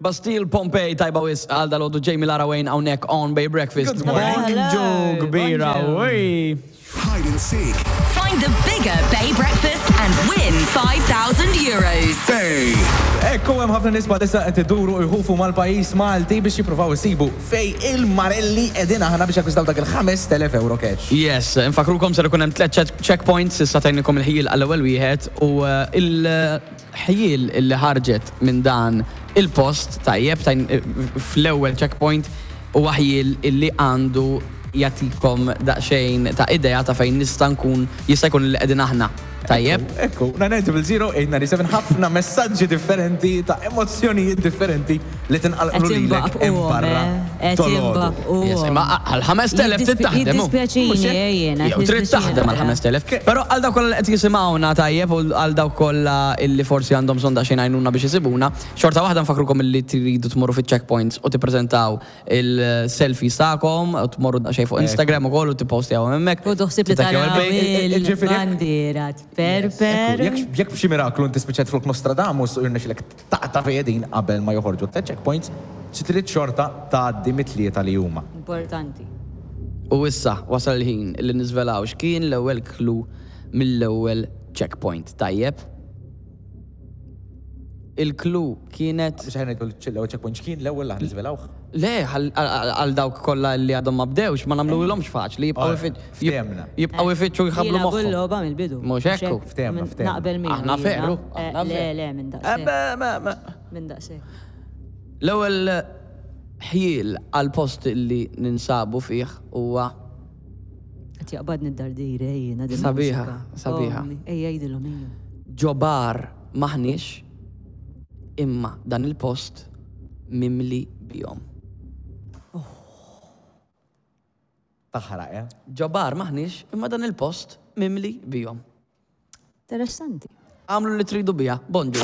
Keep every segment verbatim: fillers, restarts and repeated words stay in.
Bastille Pompei, tajba wisq għal dalgħodu, Jamie Lara Wayne hawnhekk on Bay Breakfast. Good morning. Bonġu kbira, Bonġu. Ui. Hide and seek. Find the bigger Bay Breakfast and win five thousand euros. Bay. Ekku, hemm ħafna nies bħalissa qed iduru u jħufu mal-pajjiż Malti biex jippruvaw isibu fej il-Marelli qegħdin aħna biex jakkwistaw dak il-ħamest elef euro cash. Yes, infakrukom ser ikun hemm tliet check- checkpoints, issa tajnikom il-ħjiel għall-ewwel wieħed u eh, il-ħjiel illi ħarġet minn dan il-post, tajjeb, tajn eh, fl-ewwel checkpoint u ħjiel illi għandu jagħtikom daqsxejn ta' idea ta' fejn nista' nkun jista' jkun li qegħdin aħna. Tajjeb? Ekku, nine zero zero eight nine seven, ħafna messaġġi differenti ta' emozzjonijiet differenti li tinqalqlu Qed lilek hemm imbaqbuhom, barra eh. Qed tolodu. imbaqbuhom. Yes, imma għal ħamest elef trid taħdem. Hu. Jiddispjaċini, eh, jiena. Jew trid taħdem għal ħamest elef. Però għal dawk kollha li qed jisimgħuna, tajjeb, u għal dawk kollha illi forsi għandhom bżonn daqsxejn għajnuna biex isibuna, xorta waħda nfakrukom illi tridu tmorru fiċ-checkpoints u tippreżentaw il-selfies tagħkom u tmorru daqsxejn fuq Instagram ukoll u tippostjaw hemmhekk. U doħsib li Tittakjaw taraw il-bejt. Ġifieri jekk- il-bandiera perper. Jekk jekk b'xi miraklu inti spiċċajt flok Nostradamus u jirnexxilek taqta' fejedin qabel ma joħorġu ta' checkpoints, xi trid xorta tgħaddi mit-tlieta li huma. Importanti. U issa wasal il-ħin li niżvelaw x'kien l-ewwel clue mill-ewwel checkpoint. Tajjeb? Il-clue kienet Biex ħajna l-ewwel checkpoint x'kien l-ewwel li ħniżvelawh. Le, għal- għal għal dawk kollha li għadhom ma bdewx, ma nagħmluhomx faċli, jibqgħu Alright, ifitt- ftehemna. jibqgħu ifittxu jħablu Jilagħbu moħħhom. l-logħba mill-bidu. Mhux hekk hu. Ftehemna, Min- ftehemna. Naqbel miegħu Aħna jiena. veru, Eh, aħna Le, veru. le, minn Eh, daqshekk. be- me- me. Minn daqshekk. L-ewwel ħjiel għal post li ninsabu fih huwa Qed jaqbadni d-dardira jiena din Sabiħa, il-mużika. sabiħa. Ommi, ejja jgħidilhom, ejja. Ġo bar maħniex, imma dan il-post mimli bihom. Taħraq, eh? Ġo bar maħniex, imma dan il-post mimli bihom. Interessanti. Għamlu li tridu bija. Bonġu.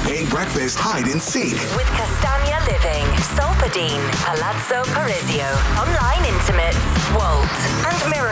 Bay Breakfast Hide and Seek. With Castagna Living, Solpadeine, Palazzo Parisio, Online Intimates, Walt, and Miracle.